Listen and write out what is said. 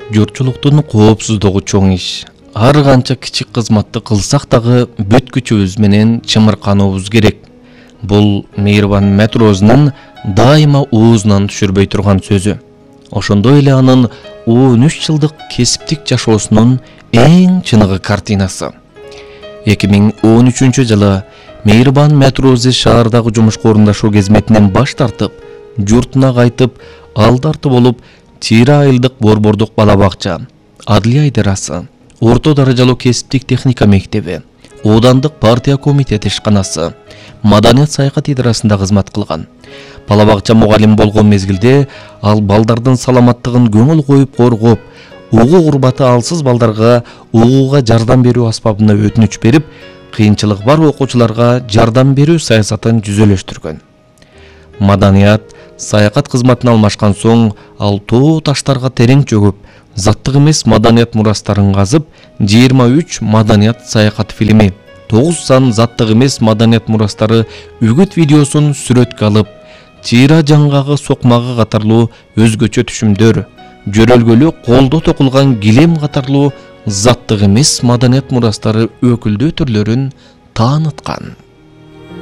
Журтчулуктун коопсуздугу чоң иш. Ар канча кичик кызматты кылсак дагы бүт күчүбүз менен чымыркануубуз керек. Бул Мейирбан Матрозунун дайыма оозунан түшүрбөй турган сөзү. Ошондой эле анын 13 жылдык кесиптик жашоосунун эң чыныгы картинасы. 2013 жылы Мейирбан Матрози шаардагы жумушка орундашуу кезметинен баш тартып, журтуна кайтып, алды арты болуп, Тире айылдык борбордук бала бакча, Адылия идарасы, орто даражалуу кесиптик техника мектеби, оодандык партия комитети ишканасы, маданият саякат идарасында кызмат кылган. Бала бакча мугалим болгон мезгилде ал балдардын саламаттыгын көңүл коюп коргоп, угук урбаты алсыз балдарга угууга жардам берүү аспабына өтүнүч берип, кыйынчылыгы бар окуучуларга жардам берүү саясатын жүзөлөштүргөн. Маданият саякат кызматына алмашкан соң ал тоо таштарга терең чөгүп, заттык эмес маданият мурастарын казып, 23 маданият саякат фильми, 9 сан заттык эмес маданият мурастары үгүт видеосун сүрөткө алып, Тире жаңгагы сокмагы катарлуу өзгөчө түшүмдөр, жөрөлгөлү колдо токулган килем катарлуу заттык эмес маданият мурастары өкүлдүү түрлөрүн тааныткан.